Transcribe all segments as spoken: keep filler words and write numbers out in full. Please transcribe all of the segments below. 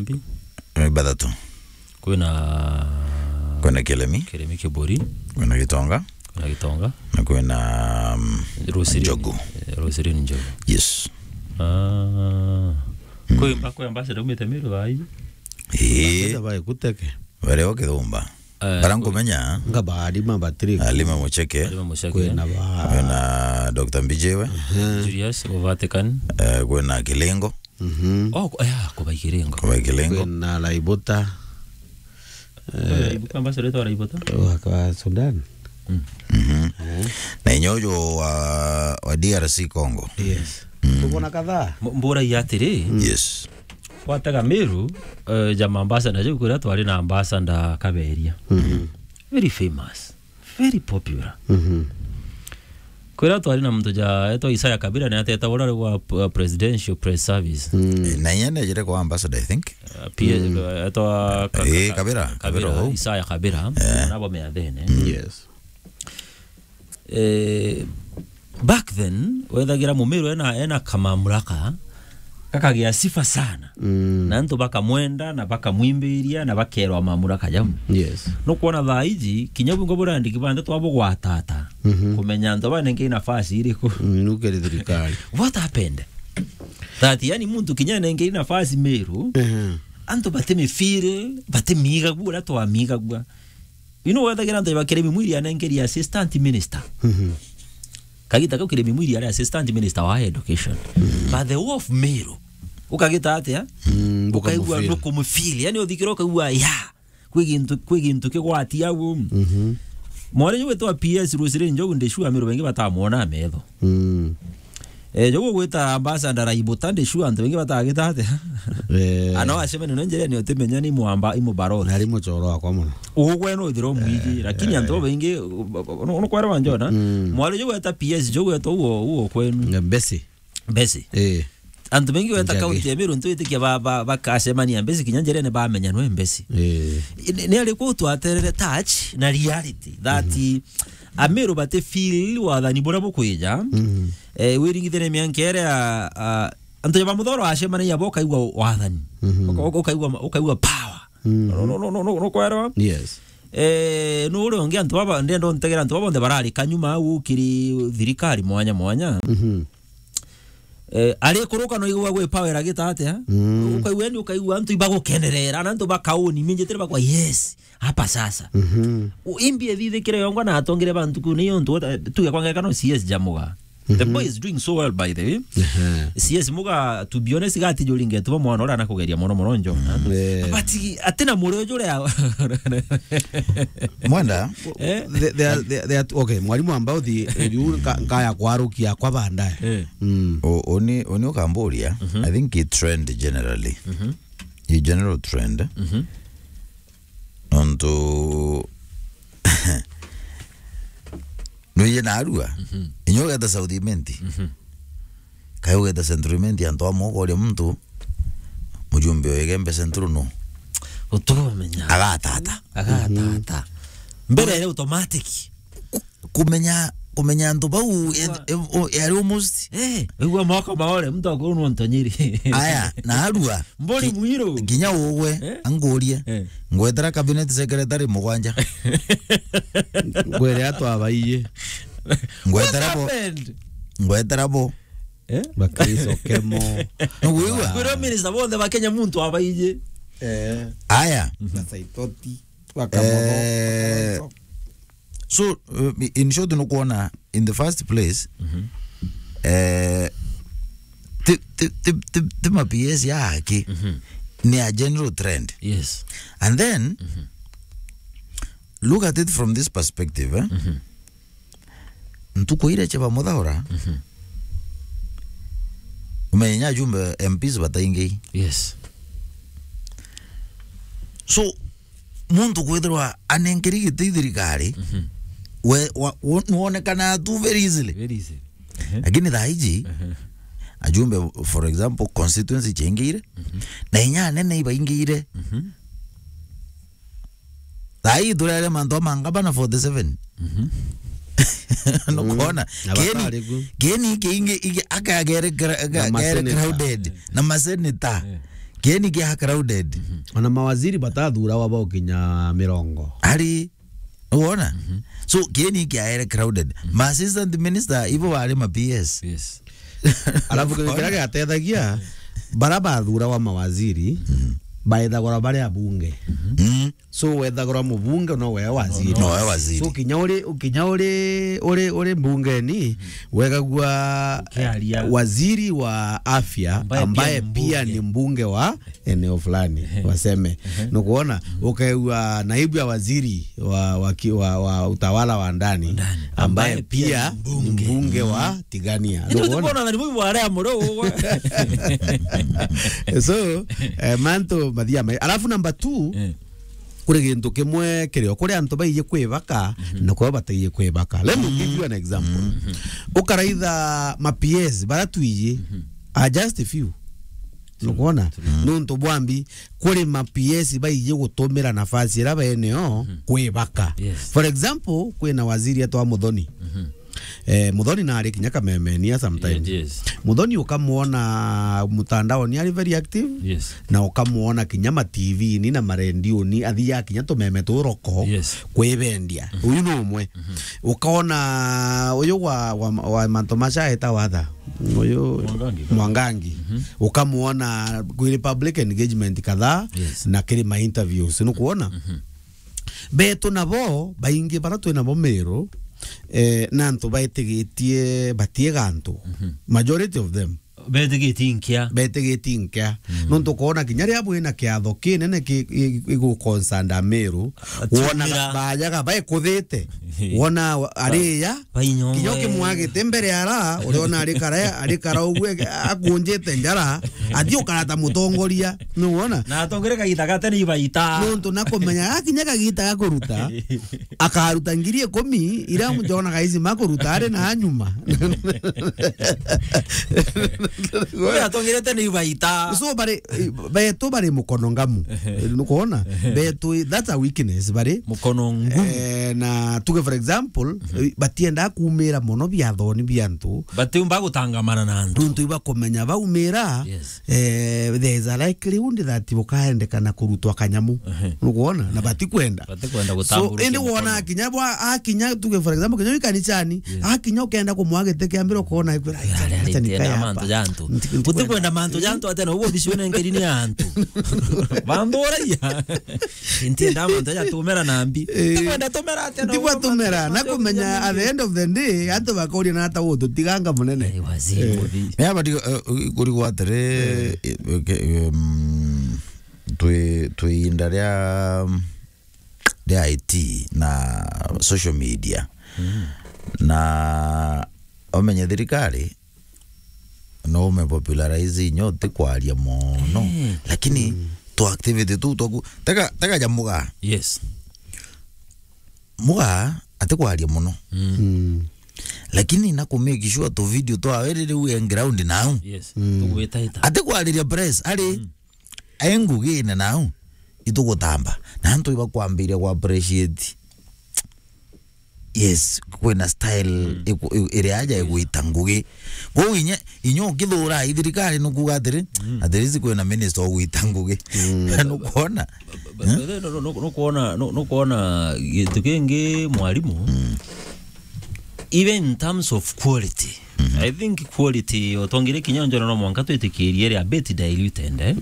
Mbi? Eh, bathatu. Kwina Kwina Kiremi. Kiremi Kiburi. Kwina Gitonga. Kwina Gitonga. Na kwina, mm, Rosiri. Njogu. Eh, Rosiri Njogu. Yes. Ah. Mm. Kwi mba-, kwi ambassador umite Meru thaa iji? Ii. Ambassador bae kuteke. Were o Kithumba. Eh, bara kwi nkumenya. Nga ba Halima Patrick. Halima Mucheke. Halima Mucheke. Kwina ba Kwina Doctor Mbijiwe. Julius, o Vatican. Eh, kwina Kilingo. Mhm. Oh, ku-, eh, ah, kubai Kilingo. Kubai Kilingo. Kwina Laibuta. Eh, Laibuta, ambassador wetu wa Laibuta? Wa, wa Sudan. Mm. Mhm. Eh. Na inya uju wa, wa D R C Congo. Yes. Mm. Tuko na kadhaa. M-, mbura ya atiri. Mm. Yes. Watega Meru, eh, jama ambassador juu kwira twari na ambassador Kaberia. Mhm. Very famous. Very popular. Mhm. Kwira twari na muntu ja etwa Isaya Kabira, ni ateta ura wa p-, Presidential Press Service. Mm. Eh, na inya nejire kwa ambassador, I think. Uh, P-, mm, etwa Ka-, eh, Ka-, Kabira, Kabira, Kabira, oh. Isaya Kabira, eh, nabo meathene. Mm. Yes. Eh, back then, wethagira Mumiru ena, ena kamamuraka, kakagia sifa sana. Mm. Na antu bakamwenda, na bakamwimbiria, na bakerwa mamuraka jau. Yes. Nukwona thaa iji, kinya bungo burandiki banthe twabugwatata. Mhm. Kumenya antu banengei nafasi iriku. Mm, nukiri thirikari. What happened? That, yani, muntu kinya enengei nafasi Meru, mhm, antu batimifeel, batimigagua uria twamigagua. You know, wethagira antu ba Kiremi Mwiri anengeri assistant minister. Mhm. Kagita kau Kiremi Mwiri ari assistant minister wa education. Mhm. But the whole of Meru, ukagita atia? Mm, ukaigua bukamufeel. Nukumufeel. Yani, uthikira ukaigua, ya, kwi gintu, kwi gintu kigwati au. Mhm. Mwari uyu witwa P S Rosiri Njogu, ndi sure Meru baingi batamwona metho. Mm. Eh, jogu gwita ambassador Laibuta, ndi sure antu baingi batagita atia? Eh. Ana wacemania no njira ni utimenya ni mwamba, i mubaroti. Nari muchoro wakwa muno. Ugwe no uthira umwiji, eh, lakini, eh, antu baingi, no, no kwera wanjona. Mm. Mwari jogu gwita P S, jogu gwita uo, uo kwenu. Mbesi. Mbesi. Eh. Antu baingi gwita Njagi. Kaunti ya Meru, ntu itikia ba, ba, bakacemania Mbesi, kinya njirene bamenya nwe Mbesi. Eh. Ni, ni ari kuu twaterere touch na reality that, mhm, Ameru bati feel wathani buria bukwija. Mhm. Eh, wiringithire mianka iria, ah, antu ja ba Muthoro acemanagia bo ukaigua wathani. Mhm. Uka-, uka-, ukaigua, ukaigua power. Mhm. No, no, no, no, no, no, kwerwa? Yes. Eh, no uria ungi antu baba, ndenda untegera antu baba bonthe barari kanyuma au ukiri thirikari mwanya mwanya. Mhm. Eh, arikuruka no igua gwi power agita atia? Mm. Ukaigua, yani, ukaigua antu ibagukenerera, na antu bakauni, minjitire bakwa, yes, hapa sasa. Mhm. U-, imbi ethithikire yongwa na atongire bantu kuu, ni yontu, tuge kwa ngeka no C S ja Muga. The, mhm, boy is doing so well, by the way. Ehe. C S Muga, to be honest, gati juri ngetu ba mwana uria anakugeria mono mono njo. Mm. Eh. But atina muri uju uria Mwenda, eh? They, they are, they, they are, okay, mwarimu ambao thi, riu nka-, nkaya kwarukia kwa bandae. Eh. Mm. O-, oni, oni ukamburia, mhm, I think i trend generally. Mhm. I general trend. Mhm. Nontu nwije narua. Mhm. Inya ugeta South Imenti. Mhm. Kai ugeta Central Imenti, antu amwe ukoria muntu, mujumbe o Igembe Central no. Utumenya. Agatata. Agatata. Mhm. Mbere ile automatic. Ku-, kumenya, kumenya antu bau, e-, e-, o-, yari almost. Eh, igua moko maore, muntu akuru no ntonyiri. Aya, narua. Mburi ki-, mwiru. Kinya ugwe, eh? Angurie. Eh. Ngwetera cabinet secretary mugwanja. Ngwere atwabaiye. Ngwetera bo. What happened? Ngwetera bo. Eh? Bakristo kemo. Nugwigua? Kwirwo minister bonthe ba Kenya muntu abaiji. Eh. Aya. Na Saitoti, Bakamotho, eh, Bakamotho. So, uh, in short, nukwona, in the first place, mhm, eh, ti, ti, ti, ti, ti ma P S ya haki, mhm, ni a general trend. Yes. And then, mhm, look at it from this perspective, eh? Mhm. Ntuku iria cia ba Muthaura, mhm, umenya inya ajumbe M Ps bataingi. Yes. So, muntu kwithirwa anenkeri giti thirikari, mhm, we, wa, wo-, nwonekana tu very easily. Very easily. Mhm. Lakini thaa iji, mhm, ajumbe, for example, constituency ciaingiire, mhm, na inya anene ibaingiire. Mhm. Thaa ii turere mantu ma ngabana forty seven. Mhm. Nukwona? Mm. Na Keni, batari ku. Keni kiingi, iki, aka gere gra-, ga-, na gere maseneta. Crowded. Eh. Na maseneta. Eh. Kieni kia crowded. Ona mawaziri batathurawa baukinya mirongo. Ari, wona? So, kieni kia ere crowded. Ma assistant minister, ibo bari ma P S. Yes. Alafu kiria giatethagia, bara bathurawa mawaziri, baethagwa bari abunge. Mm. So, wethagwa mubunge no we waziri. No we waziri. So, kinya uri, kinya uri, uri, uri mbungeni, wegagua Ukiaria. Waziri wa afya, Ambaye pia ambaye ni pia mbunge. Ni mbunge wa eneo fulani, waseme. Nukuona, ukaigua naibu ya waziri wa, wa, ki- wa, wa utawala wa ndani, Ndani. Ambaye ambaye pia pia ni ni mbunge. Mbunge wa Tigania. Ndio. Nukuona? Tukuona na ni mwibu wale amuro. So, eh, mantu mathia mai. Alafu number two, Eh. Kuri gintu kimwe kirio, kuri antu baiji kwibaka, na kwao bataiji kwibaka. Let me give you an example. Ukaraitha ma P S, bara twiji, are just a few. Nukuona? Nuntu bwambi, kuri ma P S baiji gutumira nafasi ira beneo kwibaka. Yes. For example, kwina waziri etwa Muthoni. Eh, Muthoni nari kinya kamemenia sometimes. Yes, yes. Muthoni ukamuona mutandaoni ari very active. Yes. Na ukamuona kinya ma T V-ini na marendioni, athiaga kinya tumeme turoko Yes. Kwibendia. Uyu ni umwe. Ukaona uyu wa, wa, wa mantu macaeta watha. Uyu Mwangangi. Mwangangi. Ukamuona kwi public engagement kadhaa Yes. Na kiri ma interviews. Nukuona? Betu nabo, baingi bara twi nabo Meru, eh, na antu baitigitie batiega antu. Majority of them. Betigitie nkia. Betigitie nkia. Nontu ukoona kinya riria bwina kiatho kinene ki- i- igu concern Meru, Atiumira. Wona bajaga baikuthite. Wona wa- ariya, Bainyongwe. Kinya ukimwagite mbere ara, uriona ari kara, ari kara uguo, akunjite njara, athi ukarata mutongoria, nuwona? Na atongere kagita gate ni ibaita. Nontu na kumenya, akinya kagita ga kuruta, akaruta ngiri ikumi, ira mjona kaisi makuruta ari na nyuma. Uria atongerete ni ibaita. So, bari, betu bari mukono ngamu. Nukuona? Betu, that's a weakness, bari. Mukono ngumu. Eh, na tuge, for example, eh, batiendaa kuumira mono biathoni bia antu. Batiumba gutangamana na antu. Nontu ibakumenya baumira, Yes. eh, there is a likelihood that bukaendekana kurutwa kanyamu. Nukuona? Na batikwenda. Batikwenda So, gutambura indi wona mukono. Kinya bwa, akinya, tuge, for example, kinya wi kanisani, Yes. Akinya ukenda kumwa giti kia mbere ukona, "Ai, kwira, Ari, ari, acha nikae ntienda hapa." Mantu ja antu. Nti-, ntikwenda. Utikwenda mantu ja antu, ati na uguo bicune nkerine ya antu. Bamburagia. Ntienda mantu ja tumera na mbi. Eh. Ntikwenda tumera ati na Ntigwa uguo tumera, mantu na ja kumenya at the end of the day, antu bakoria na ata utu tiganga munene. Eh, waziri Eh. Muthii. Ni abadi, eh, kurigwa atiri, Eh. eh, ke- em, twi twi inda ria ria I T na social media. Na umenye thirikari no ume popularize inyo ti kwaria mono. Eh. Lakini tu activity tu twaku tega tega ja muga. Yes. Muga ati kwaria mono. Mm. Lakini na ku make sure tu video twa werere u ground now. Yes. Tugwita ita. Ati kwariria press ari e ngugine nau itugutamba. Na antu ibakwambiria ku appreciate. Yes, kwina style iku- i- iri aja igwita ngugi. Kwou inya, inya ukithura i thirikari nukuga atiri, at least kwina minister ugwita ngugi. Nukwona? But, but then, no, no, no, no kuona, no, no kuona gintu kingi mwarimu. Even in terms of quality, I think quality, utongire kinya njona no mwanka twitikirie ria bit diluted, eh?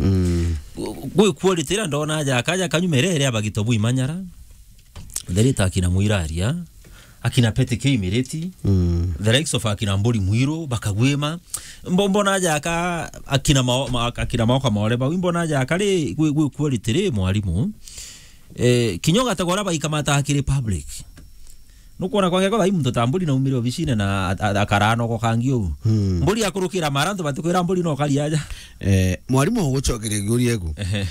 Gwi quality ira ndona aja kaja kanyumere ria bagito bwimanyara. Therita akina Mwiraria, akina Petty K Miriti, the likes of akina Mburi Mwiru, bakagwima. Mbo- mbona aja aka akina mao, ma- akina mao kamore bau, mbona aja aka ri gwi gwi quality ri mwarimu. Eh, kinya ugategwa uria baikamata akiri public. Nukwona kwa geko bai muntu ta Mburi naumire obicine na a- a- akaranogo kangi uu. Mburi akurukira mara antu batikwira Mburi no kari aja. Eh, mwarimu ugucokeria kiuria iku. Ehe.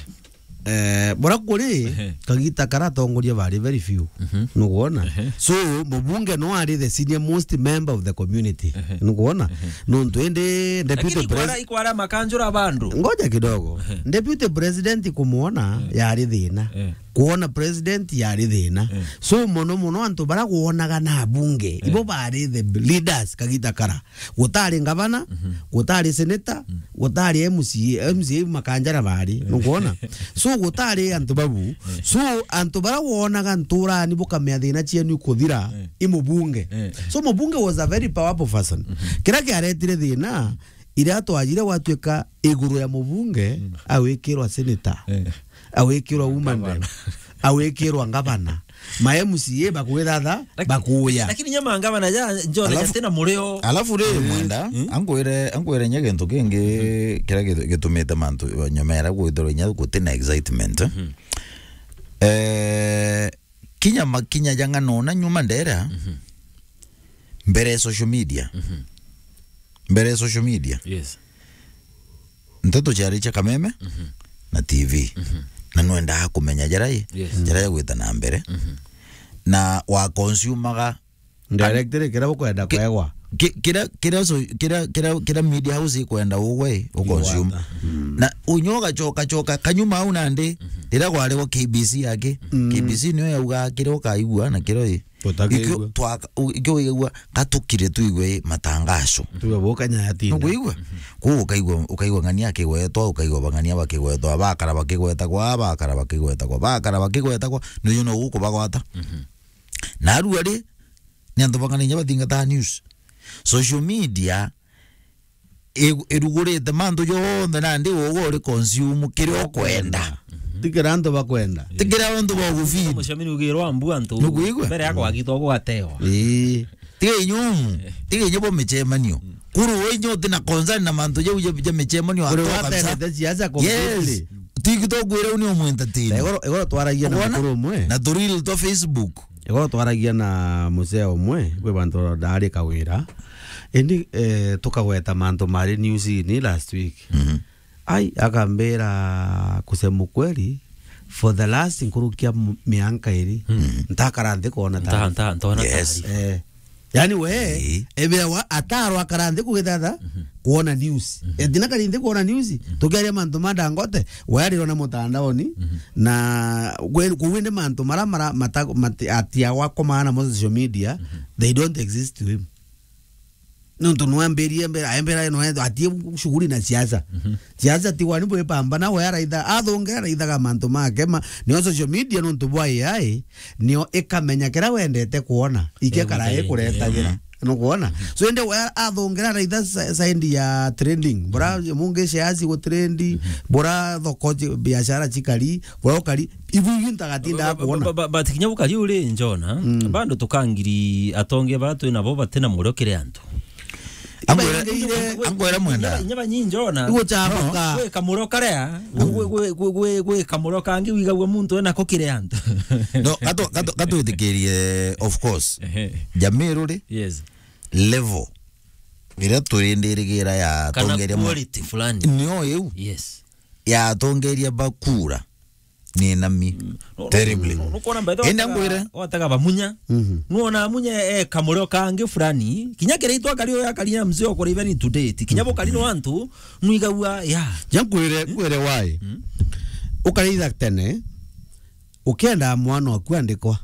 Eh, bora kuri kagita kara atongoria bari very few. Nukwona? So, mubunge no ari the senior most member of the community. Nukwona? Nontu indi deputy Lakini ikwara, president ikwara makanjura bandu. Ngoja kidogo. Deputy president kumwona yari thina. Eh. Kwona president yari thina. Eh. So, mono mono antu bara kwonaga na bunge, eh, ibo bari the leaders kagita kara. Gutari ngavana, mhm, gutari senator, mm, gutari M C A, M C A makanjara bari, nukwona? So, gutari antu babu. Eh. So, antu bara wonaga nturani bukamea thina cienu ikuthira, eh, i mubunge. Eh. So, mubunge was a very powerful person. Mhm. Kira kiaretire thina, iria twajire gwatuika iguru ya mubunge, mm, awikirwa senator, eh, awikirwa woman rep, awikirwa ngavana. Ma M C A bakwithatha, laki-, bakuya. Lakini nyama ngavana ja, John, alafu, jatina murio. Alafu ri, mm, Mwenda, mm, angwire, angwire nya gintu kingi, mm, kiria gitu-, gitumite mantu nyomera gwithirwa nya gutina excitement. Mm. Eh, kinya makinya ja ng'ano na nyuma ndera, mhm, mbere ya social media. Mhm. Mbere ya social media. Yes. Nteto ciari cia Kameme, mhm, na T V. Mhm. Na nwendaa kumenya jarai, yes, jarai gwita na mbere. Mhm. Na wa consumaga directly kira ukwenda ki-, kwegwa. Ki-, kira, kira so-, kira, kira, kira media house ikwenda ugwe, u consume. Igwata. Mm. Na unyo ugacoka, coka, kanyuma au nandi, mhm, riria gwarigwa K B C yake, mm, K B C niyo yauga kira ukaigua na kira i-, Utagigua. Ikio twaka-, u-, ikio wigagua, gatukire tuigue matangaco. Tuwe bo kanya yatinda. Nukuigua? Mhm. Kuu ukaigua, ukaigua ng'ania akigwetwa, ukaigua bang'ania bakigwetwa, bakara bakigwetagwa, bakara bakigwetagwa, bakara bakigwetagwa, nuju no gukubagwata. Mhm. Na aru ari, ni antu bang'ania inya bathingataga news. Social media i-, irugurite mantu jonthe nandi ugwe uri consume kiria ukwenda. Ti kira antu bakwenda. Ti kira antu bagufeed. Mucemi ni ugirwa mbu antu. Nukuigua? Mbere ya kwagitwa gwatewa. Ii. Tiga inyumu. Tiga inyu bo micemanio. Kuru we inyu utina concern na mantu jau ja, ja micemanio. Kuri atoka kabisa. Wategete siasa completely. Yes. Tiki tugwire uni umu entertain. Igoro, igoro twaragia na mukuru umwe. Na turil to Facebook. Igoro twaragia na musee umwe, kwi bantu ndaari kawira. Indi, eh, tukagweta mantu mari newsini last week. Mhm. Ai, akambira, kusema ukweli, for the last nkurukia m-, mianka iri, mhm, ntakara nthi kwona taarifa. Nta-, nta-, ntona taarifa. Yes. Eh. Yani we, ii, ebewa atarwa akara nthi kugithatha, mhm, kwona news. Mhm. Etina kari nthi kwona news, mhm, tukiaria mantu ma Dangote, we arirona mutandaoni, mhm, na kwe-, kuu indi mantu mara, mara mata-, mati-, atiawa komana mo social media, mhm, they don't exist to him. Nontu nwambirie mbere, aembera no atie shughuli na siasa. Mhm. Siasa ti wani bwipambana, we araitha, athunge araithaga mantu make, ma, nio social media nontu bwa A I, nio ikamenya kira wendete kwona, ikekara ikuretagira. Mhm. Nukwona? Mhm. So, indi we athungira araitha sa-, side ya trending. Bura, mhm, mungi shares gutrend, mhm, bura thoko ji-, biashara chikari, bura ukari, ibu ingi ntagatinda kwona. But, but, but, but kinya bukari uri njona, mm, bado tukangiri atonge bara twi nabo batina murio kiri antu. Angwira, iba ingi ire, angwira Mwenda. Inya, inya banyi njona. Igu chamuka. No. Gwi kamurio karia, gwi, gwi kamurio kangi wigagua muntu ena ko kiri antu. No, gato, gato, gatwitikirie, of course. Ehe. Jamii ruri. Yes. Level iria turindirigira ya kana atongeria ma-, quality fulani. Nio iu. Yes. Ya atongeria ba kura. Ni nami. Mm. No, no, terribly. No, no, nukwona mbethe. Enda watega, ngwire. Watega bamunya. Mhm. Nuona amunya e kamurio kangi fulani. Kinya kiri itwa kari oya kari ya mzee okore even to date. Kinya bo kari no antu, nwigagua, ya. Ja nkwire, nkwire why. Mm. Ukaraitha tene, ukienda mwana waku andikwa.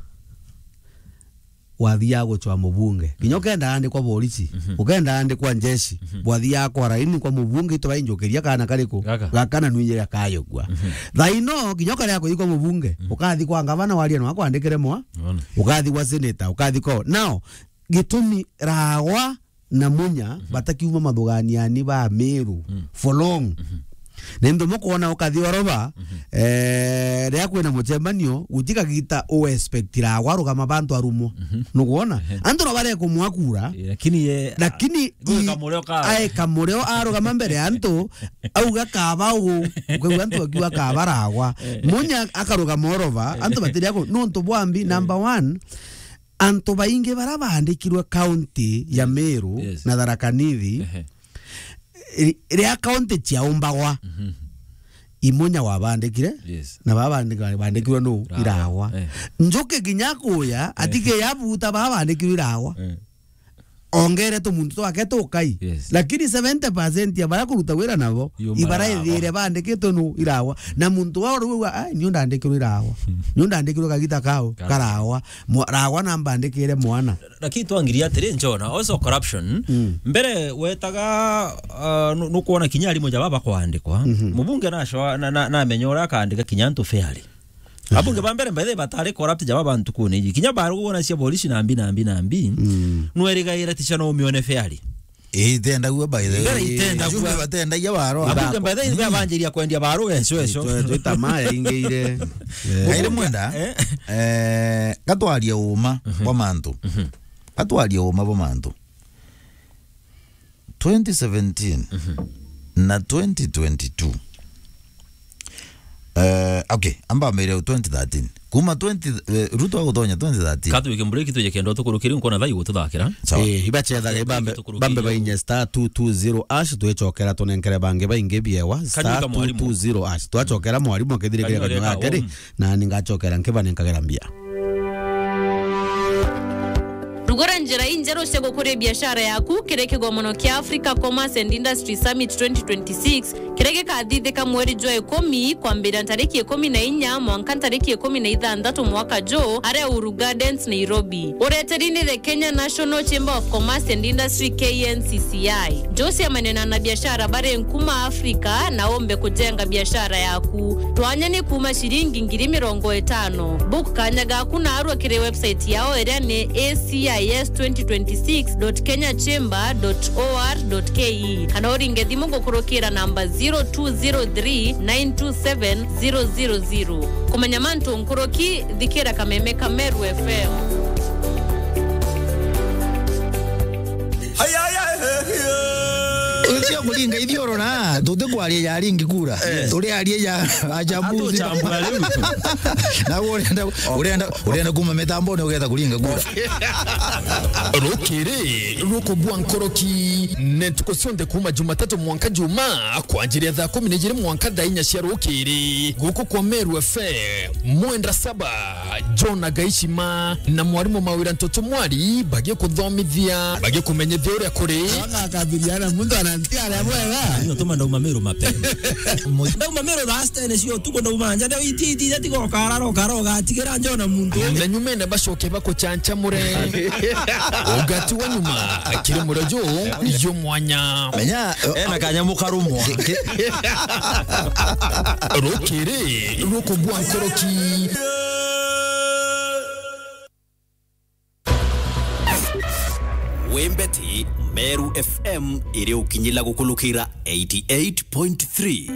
Wathiaga gucwa mubunge. Kinya ukenda andikwa borisi, mhm, ukenda andikwa njeshi, mhm, bwathiaga kwa raini kwa mubunge, itu bainjukiria kana kariku? Gaka. Gaka na nwinjire kayukua. Mhm. Thaino, kinya ukaria kuikwa mubunge, mhm, ukathi kwa ngavana waria no akwandikire mwa, ona, ukathi kwa senator, ukathi kwa. Now, gitumi Ragwa na Munya, mhm, batakiuma mathuganiani ba Meru, mm, for long. Mhm. Ni ntu mukwona ukathi oroba, mhm, eh, riria kwina mucemanio, gutikagita u expect Ragwa arugama bantu arumwa. Mhm. Nukwona? Ehe. Antu no barekumwa kura, eh, lakini ye, lakini a-, i-, gwika murio ka-, aeka murio arugama mbere ya antu, auga kaba u, ukaigua antu akiuga kaba Ragwa. Eh. Munya akarugama oroba, antu batiria ku-, nontu bwambi, eh, number one, antu baingi bara baandikirwe kaunti ya Meru, yes, na Tharaka Nithi, ehe, ri-, riria kaunti ciaumbagwa, mhm, i Munya wabandikire, yes, na baba bandika-, bandikirwe nu? Iragwa. Iragwa. Eh. Njuki kinya kuya, eh, atike yabuta baba bandikirwe Iragwa. Eh. ongere tumuntu twake tukai. Yes. Lakini seventy percent ya baria kuruta wira nabo, ibara ithire bandikitwe nu irawa. Na muntu wa uru uga, "Ai, niu ndandikirwe irawa. Niu ndandikirwe kagita kau, karawa. Mwa-, rawa na mbandikire mwana." Lakini twangiria atiri, Njona, also corruption. Mm. Mbere wetaga, uh, nu-, nukwona kinya arimu ja baba kwandikwa. Mhm. Mubunge nacoa-, na, na, namenya uria akandika kinya antu fairly. Abunge ba mbere, by the way, batari corrupt ja baba ntukune iji. Kinya barugwa na cia polisi na mbi, na mbi, na mbi. Mm. Nwerigaira ti cia no umione fairly. Itendagua, by the way. Mbere itendagua. Jumbe batendagia baro. Abunge, by the way, babanjiria kwendia baro eco, eco. Twe-, twita maya ingeire. Eh. Kairi mwenda, eh, gatwarie uma bwa mantu. Mhm. Gatwarie uma bwa mantu. Twenty seventeen na twenty twenty-two. Eh, okay, amba mbere twenty thirteen. Kuma twenty, eh, Ruto agutonya twenty thirteen. Katwike break, twije kendo tukurukiri nkona thai gututhakira. Sawa. Eh, ibacethaga ibambe, bambe bainye star two two zero hash, twicokera tunenkere bangi baingi biewa, star two two zero hash. Twacokera mwarimu akithirikiria kanyua gake ri, na ningacokera nkiba ninkagera mbia. Rugura njira injeru cia gukuria biashara yaku kiri kigomono kia Africa Commerce and Industry Summit twenty twenty-six, kiria gikathithika mweri jwa ikumi, kwambiria ntariki ikumi na inya mwanka ntariki ikumi na ithanthatu mwaka ju, aria Uhuru Gardens, Nairobi. Ureteri ni the Kenya National Chamber of Commerce and Industry, K N C C I. Njuciamania na anabiashara bari nkuma Afrika na umbe kujenga biashara yaku. Twanya ni kuuma ciringi ngiri mirongo itano. Book kanya gaku naarua kiri website yao iria ni A C I S twenty twenty-six dot kenya chamber dot O R dot K E, kana uringe thimu gukurukira namba zero two zero three nine two seven zero zero zero. Kumenya mantu nkuruki, thikira kameme ka Meru F M. Ucio kuringa ithioro na tutikwaria ya ringi kura. Eh. Turiaria ya achambuzi. Atuchambua riu. Na urenda, urenda, urenda kuma mitambone ugetha kuringa kura. Rukiri rukubua nkoroki, ne ntuku cionthe kuma Jumatatu mwanka Juma, kwanjiria thaa kumi na ijiri mwanka thaa inya cia rukiri. Guku kwa Meru F M, mwenda saba, John Agaishima na mwarimu Mawira Ntoto Mwari bagikuthomithia, bagikumenyithia uria kuri. Aka akabiriana, muntu anantia aria bwega. Ndio tuma ndauma Meru mapema. Ndauma Meru thaa sita ene cio tuko ndauma nja, ndio iti, iti, iti, tiga ukara, ukara, ugatigira John na muntu. Na nyumene bacoke bakuchanchamure. Ugati wa nyuma, kiri murojo, yo mwanya. Menya, ena kanyamu karumwa. Rukiri rukubua nkoroki. Wembeti Meru F M iri ukinyila gukulukira eighty-eight point three.